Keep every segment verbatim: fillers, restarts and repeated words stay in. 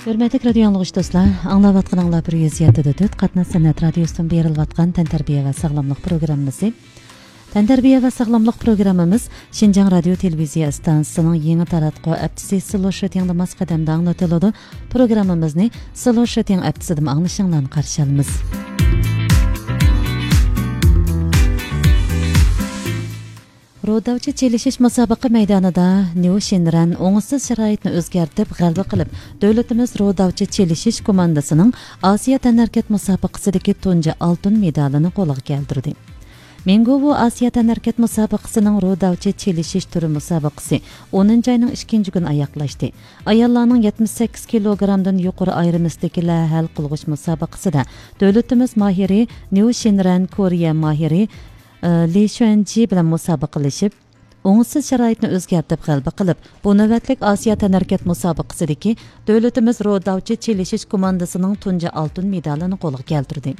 ھۆرمەتلىك رادىيو ئاڭلىغۇچى دوستلار، ئاڭلاۋاتقىنىڭلار بىر يۈز يەتتە دە تۆت قاتناش سەنئەت رادىيوسىدىن بېرىلىۋاتقان تەنتەربىيە ۋە ساغلاملىق پروگراممىسى. تەنتەربىيە ۋە ساغلاملىق پروگراممىمىز شىنجاڭ رادىيو تېلېۋىزىيە ئىستانسىسىنىڭ يېڭى تاراتقۇ ھەپتىسى سلو شىتىڭدا ماس قەدەمدە ئاڭلىتىلىدۇ. پروگراممىمىزنى سلو شىتىڭ ھەپتىسىدىمۇ ئاڭلىشىڭلارنى قارشى ئالىمىز. روداۋچى چېلىشىش مۇسابىقە مەيدانىدا نيۇ شىنرەن ئوڭۇشسىز شارائىتنى ئۆزگەرتىپ غەلىبە قىلىپ، دۆلىتىمىز روداۋچى چېلىشىش كوماندىسىنىڭ ئاسىيا تەنھەرىكەت مۇسابىقىسىدىكى تۇنجى ئالتۇن مېدالىنى قولغا كەلتۈردى. مىڭگوۋۇ ئاسىيا تەنھەرىكەت مۇسابىقىسىنىڭ روداۋچى چېلىشىش تۈرى مۇسابىقىسى ئونىنچى ئاينىڭ ئىككىنچى كۈنى ئاياغلاشتى. ئاياللارنىڭ يەتمىش سەككىز كىلوگرامدىن يۇقىرى ئايرىمىسىدىكىلەر ھەل قىلغۇچ مۇسابىقىسىدە دۆلىتىمىز ماھىرى نيۇ شىنرەن كورېيە ماھىرى، ئى، لى شۈەنجى بىلەن مۇسابىقىلىشىپ، ئوڭۇشسىز شارائىتنى ئۆزگەرتىپ غەلىبە قىلىپ، بۇ نۆۋەتلىك ئاسىيا تەنھەرىكەت مۇسابىقىسىدىكى دۆلىتىمىز روداۋچى چېلىشىش كوماندىسىنىڭ تۇنجى ئالتۇن مېدالىنى قولغا كەلتۈردى.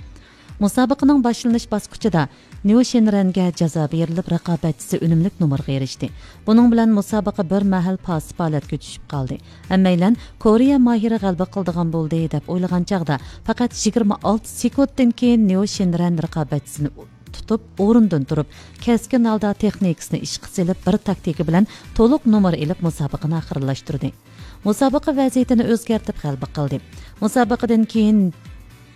مۇسابىقىنىڭ باشلىنىش باسقۇچىدا نيۇ شىنرەنگە جازا بېرىلىپ، رىقابەتچىسى ئۈنۈملۈك نومۇرغا ئېرىشتى. بۇنىڭ بىلەن مۇسابىقە بىر مەھەل پاسسىپ ھالەتكە چۈشۈپ قالدى. ھەممەيلەن كورېيە ماھىرى غەلىبە قىلىدىغان بولدى دەپ ئويلىغان چاغدا، پەقەت يىگىرمە ئالتە سېكۇنتتىن كېيىن نيۇ شىنرەن رىقابەتچىسىنى تۇتۇپ، ئورنىدىن تۇرۇپ، كەسكىن ھالدا تېخنىكىسىنى ئىشقا سېلىپ، بىر تاكتىكا بىلەن تولۇق نومۇر ئېلىپ، مۇسابىقىنى ئاخىرلاشتۇردى. مۇسابىقە ۋەزىيىتىنى ئۆزگەرتىپ غەلىبە قىلدى. مۇسابىقىدىن كېيىن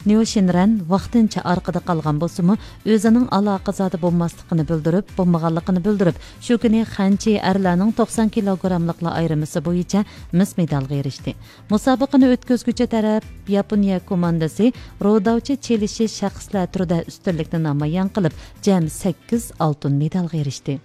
نيۇ شىنرەن ۋاقتىنچە ئارقىدا قالغان بولسىمۇ، ئۆزىنىڭ ئالاقىزادە بولماسلىقىنى بىلدۈرۈپ، بولمىغانلىقىنى بىلدۈرۈپ، شۇ كۈنى خەنچى ئەرلەرنىڭ توقسان كىلوگراملىقلار ئايرىمىسى بويىچە مىس مېدالغا ئېرىشتى. مۇسابىقىنى ئۆتكۈزگۈچى تەرەپ ياپونىيە كوماندىسى روداۋچى چېلىشىش شەخسلەر تۈرىدە ئۈستۈنلۈكنى نامايان قىلىپ، جەم سەككىز ئالتۇن مېدالغا ئېرىشتى.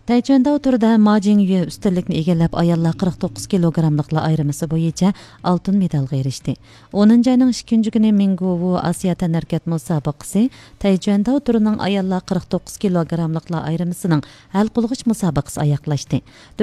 تەيچۈەنداۋ تۈرىدە ما جىڭيۈ ئۈستۈنلۈكنى ئىگىلەپ، ئاياللار قىرىق توققۇز كىلوگراملىقلار ئايرىمىسى بويىچە ئالتۇن مېدالغا ئېرىشتى. ئونىنچى ئاينىڭ ئىككىنچى كۈنى مىڭگوۋۇ ئاسىيا تەنھەرىكەت مۇسابىقىسى تەيچۈەنداۋ تۈرىنىڭ ئاياللار قىرىق توققۇز كىلوگراملىقلار ئايرىمىسىنىڭ ھەل قىلغۇچ مۇسابىقىسى ئاياغلاشتى.